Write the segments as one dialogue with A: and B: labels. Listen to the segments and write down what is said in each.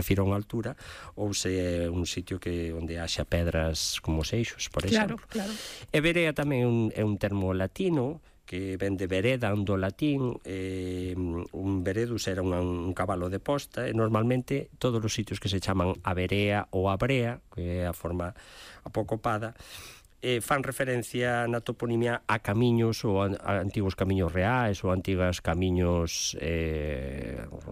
A: refiro a unha altura, ou se é un sitio onde haxa pedras como seixos, por exemplo.
B: Claro.
A: E verea tamén é un termo latino que ven de vereda, do latín. Un veredus era un cabalo de posta, e normalmente todos os sitios que se chaman a verea ou a brea, que é a forma apocopada, fan referencia na toponimia a camiños ou a antigos camiños reais ou antigas camiños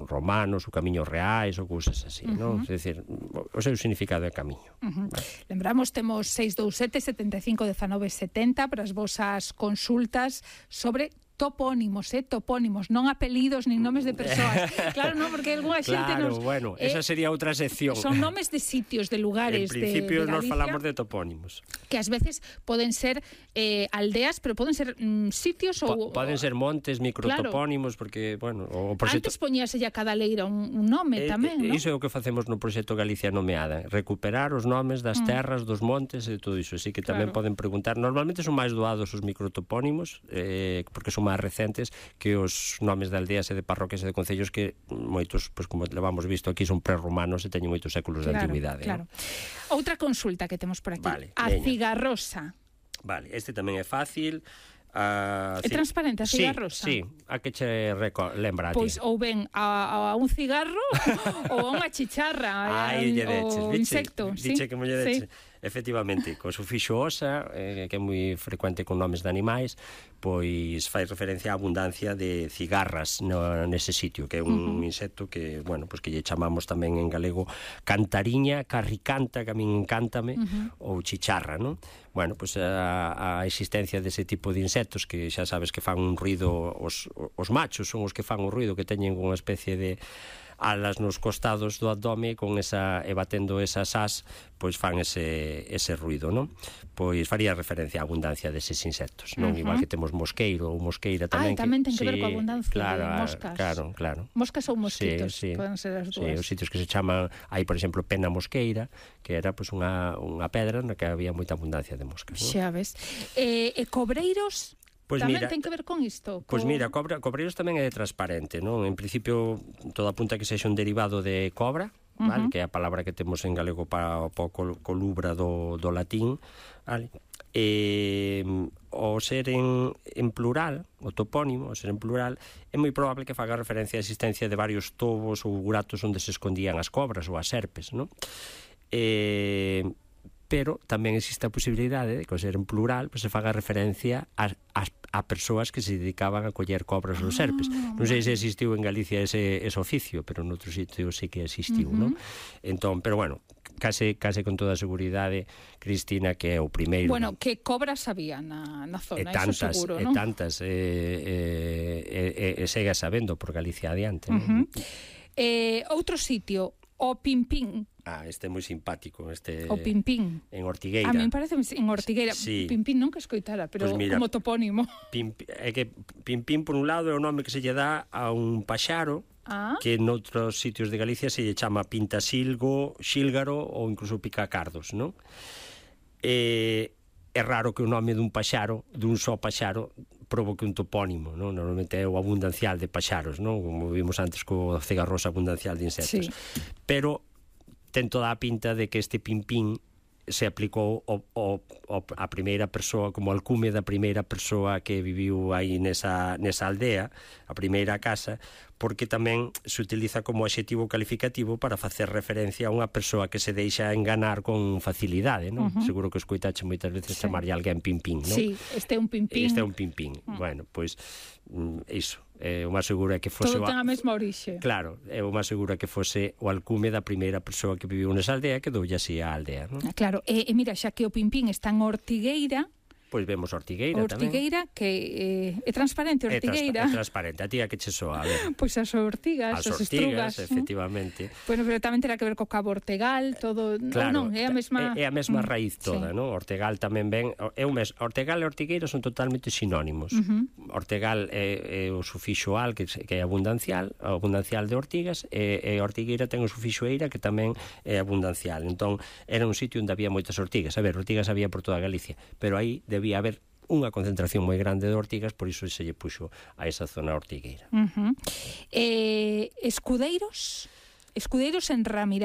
A: romanos ou camiños reais ou cousas así, non? É dicir, o seu significado é camiño.
B: Lembramos, temos 627 75 19 70 para as vosas consultas sobre topónimos, non apelidos nin nomes de persoas. Claro, non, porque algunha xente nos...
A: Claro, bueno, esa sería outra sección.
B: Son nomes de sitios, de lugares de Galicia.
A: En principio nos falamos de topónimos.
B: Que ás veces poden ser aldeas, pero poden ser sitios ou...
A: Poden ser montes, microtopónimos, porque, bueno, o proxecto...
B: Antes poñíase a cada leira un nome tamén, non?
A: Iso é o que facemos no proxecto Galicia Nomeada, recuperar os nomes das terras, dos montes e todo iso, así que tamén poden preguntar. Normalmente son máis doados os microtopónimos, porque son máis recentes que os nomes de aldeas e de parroquias e de concellos que moitos, pois como levamos visto aquí, son prerromanos e teñen moitos séculos de antigüidade.
B: Claro. Outra consulta que temos por aquí.
A: Vale,
B: a cigarrosa.
A: Vale, este tamén é fácil.
B: É transparente a cigarrosa?
A: Sí, a que che lembra a ti?
B: Pois ou ben a un cigarro ou a unha chicharra, ou insecto.
A: Diche que molledeche. Efectivamente, co sufixo osa, que é moi frecuente con nomes de animais, pois fai referencia á abundancia de cigarras nese sitio, que é un insecto que, bueno, pois que lle chamamos tamén en galego cantariña, carricanta, que a min encántame, ou chicharra, non? Bueno, pois a existencia dese tipo de insectos que xa sabes que fan un ruido, os machos son os que fan o ruido, que teñen unha especie de alas nos costados do abdome e batendo esas as, pois fan ese ruido, non? Pois faría referencia á abundancia deses insectos, non? Igual que temos mosqueiro ou mosqueira tamén.
B: Tamén ten que ver coa abundancia de moscas.
A: Claro.
B: Moscas ou mosquitos, poden ser as dúas.
A: Sí, os sitios que se chaman, hai, por exemplo, pena mosqueira, que era pois unha pedra na que había moita abundancia de moscas, non?
B: Xa ves. E cobreiros...
A: Pois
B: tamén
A: mira,
B: ten que ver con isto?
A: Pois mira, cobreiros tamén é transparente, non? En principio, todo apunta que sexa un derivado de cobra, vale? Que é a palabra que temos en galego para o colubra do latín, vale? O ser en plural, o topónimo, o ser en plural, é moi probable que faga referencia á existencia de varios tobos ou buratos onde se escondían as cobras ou as serpes, non? Pero tamén existe a posibilidade de que, ao ser en plural, se faga referencia a persoas que se dedicaban a coller cobras ou serpes. Non sei se existiu en Galicia ese oficio, pero en outros sitios sí que existiu, non? Entón, pero bueno, case con toda a seguridade, Cristina, que é o primeiro...
B: Bueno, que cobras había na zona,
A: tantas,
B: iso seguro, non?
A: Tantas, segue sabendo por Galicia adiante, non?
B: Outro sitio, o Pimpín.
A: Este é moi simpático,
B: o Pimpín.
A: En Ortigueira.
B: A mí parece en Ortigueira.
A: Sí.
B: Pimpín nunca escoitara, pero pues mira, como topónimo.
A: É que Pimpín, por un lado, é o nome que se lle dá a un paxaro que noutros sitios de Galicia se lle chama pintasilgo, xílgaro ou incluso picacardos, non? É raro que o nome dun paxaro, dun só paxaro, provoque un topónimo, non? Normalmente é o abundancial de paxaros, non? Como vimos antes co cigarrosa abundancial de insectos. Pero ten toda a pinta de que este Pimpín se aplicou a primeira persoa, como alcume da primeira persoa que viviu aí nesa aldea, a primeira casa, porque tamén se utiliza como adxetivo calificativo para facer referencia a unha persoa que se deixa enganar con facilidade, non? Seguro que escoitache moitas veces chamarlle alguén Pimpín, non?
B: Sí, este é un Pimpín.
A: Este é un Pimpín. Bueno, pois iso, o máis seguro é que fose...
B: Todo ten a mesma orixe.
A: Claro, o máis seguro é que fose o alcume da primeira persoa que viviu nesa aldea, que doulle así a aldea, non?
B: Claro, e mira, xa que o Pimpín está en Ortigueira...
A: Pois vemos Ortigueira tamén.
B: Ortigueira, que é transparente, Ortigueira.
A: É transparente, a ti a que che soa, a ver.
B: Pois as ortigas, as estrugas.
A: Efectivamente.
B: Bueno, pero tamén terá que ver co Cabo Ortegal, todo...
A: Claro,
B: non, é a mesma...
A: É a mesma raíz toda, non? Ortegal tamén ven... Ortegal e Ortigueira son totalmente sinónimos. Ortegal é o sufixo al, que é abundancial de ortigas, e Ortigueira ten o sufixo eira, que tamén é abundancial. Entón, era un sitio onde había moitas ortigas. A ver, ortigas había por toda Galicia, pero aí debía haber unha concentración moi grande de ortigas, por iso se lle puxo a esa zona ortigueira.
B: Escudeiros en Ramirá.